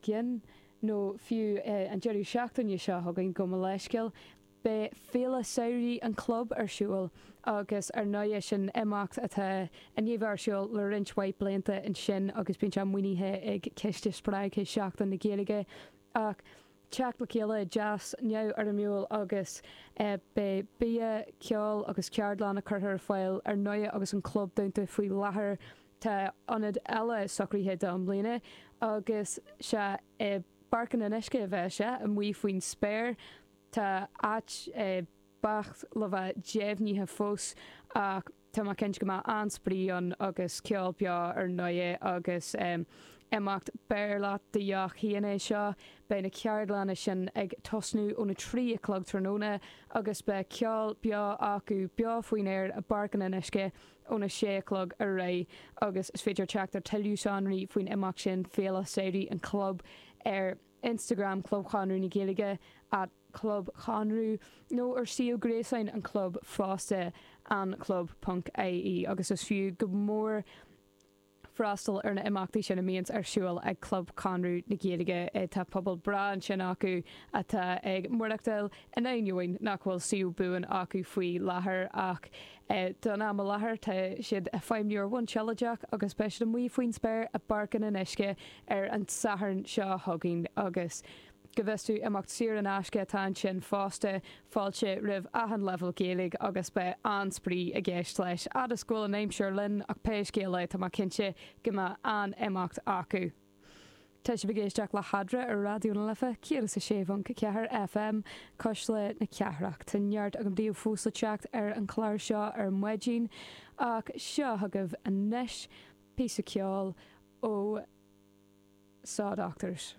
gcionn, nó fiú an deireadh seachtaine seo chugainn, gabh mo leithscéal, beidh Féile Samhraidh an Chlub ar siúl agus ar ndóigh sin imeacht atá i ndiaidh bheith ar siúl le roinnt mhaith blianta ansin agus bíonn sé maoinithe ag Ciste Spreagtha Sheachtain na Gaeilge ach teacht le chéile deas neamhfhoirmiúil agus beidh bia, ceol agus ceardlanna curtha ar fáil ar ndóigh agus an club dúnta faoi láthair. Tá ionad eile socraithe do i mbliana agus sea i bPáirc an Fhionnuisce a bheas sé, amuigh faoin spéir. Tá áit beacht le bheith deimhnithe fós ach tá mé cinnte go mbeidh an-spraoi ann agus ceol beo ar ndóigh agus imeacht beir leat do dheoch féin é seo. Beidh na ceardlanna sin ag tosnú óna 3 a chlog tráthnóna agus beidh ceol beo acu beo faoin aer i bPáirc an Fhionnuisce óna 6 a chlog ar aghaidh agus is féidir teacht ar tuilleadh sonraí faoin imeacht sin, Féile Samhraidh an Chlub ar Instagram Club Chonradh na Gaeilge, at Club Chonradh, nó ar suíomh gréasáin an chlub fosta, anclub ponc ie, agus is fiú go mór freastal ar na imeachtaí sin a mbíonns ar siúl ag Club Chonradh na Gaeilge. Tá pobal breá ansin acu atá ag maireachtáil in ainneoin nach bhfuil suíomh buan acu faoi láthair ach don am i láthair tá siad ag feidhmiú ar bhonn sealadach agus beidh siad amuigh faoin spéir i bPáirc an Fhionnuisce ar an Satharn seo chugainn agus go bhfios duit, imeacht saor in aisce atá ansin fosta, fáilte roimh achan leibhéal Gaeilge agus beidh an-spraoi i gceist leis. Fhad is go bhfuil an aimsir linn ach pé scéal é tá mé cinnte go mbeidh an-imeacht acu. Tá sibh ag éisteacht le hEadra ar Raidió na Life 106.4 FM, Cuisle na Cathrach. Tá neart agam daoibh fós le teacht ar an chlár seo ar maidin ach seo chugaibh anois píosa ceoil ó Saw Doctors.